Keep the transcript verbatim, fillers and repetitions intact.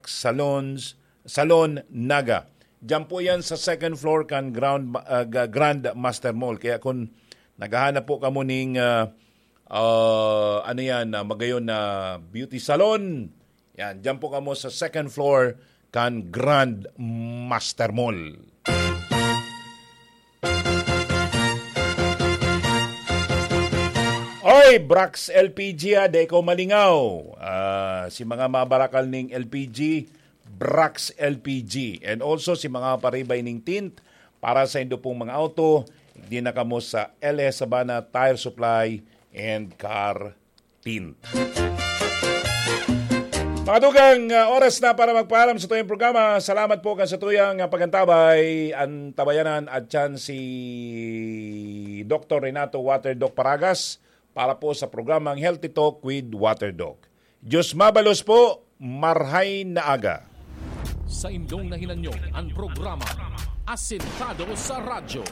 Salons, Salon Naga. Diyan po yan sa second floor kan Ground, ah, Ga-, Grand Master Mall. Kaya kung naghahanap po kamo ning, ah, ah, ano yan, ah, magayon na beauty salon, yan, diyan po kamo sa second floor kan Grand Master Mall. Oy, Brax L P G, ah, di ikaw malingaw. Ah, si mga mabarakal ning L P G, Brax L P G. And also si mga paribay ning tint para sa indo pong mga auto, di na kamo sa L S Sabana Tire Supply and Car Tint. Mga dugang, ah, oras na para magpaalam sa tuyang programa. Salamat po kan sa tuyang, ah, pagantabay. An tabayanan at siyan si Doktor Renato Water Doc Paragas para po sa programang Healthy Talk with Water Doc. Diyos mabalos po, marhay na aga. Sa indong nahinanyo an programa Asentado sa Radyo.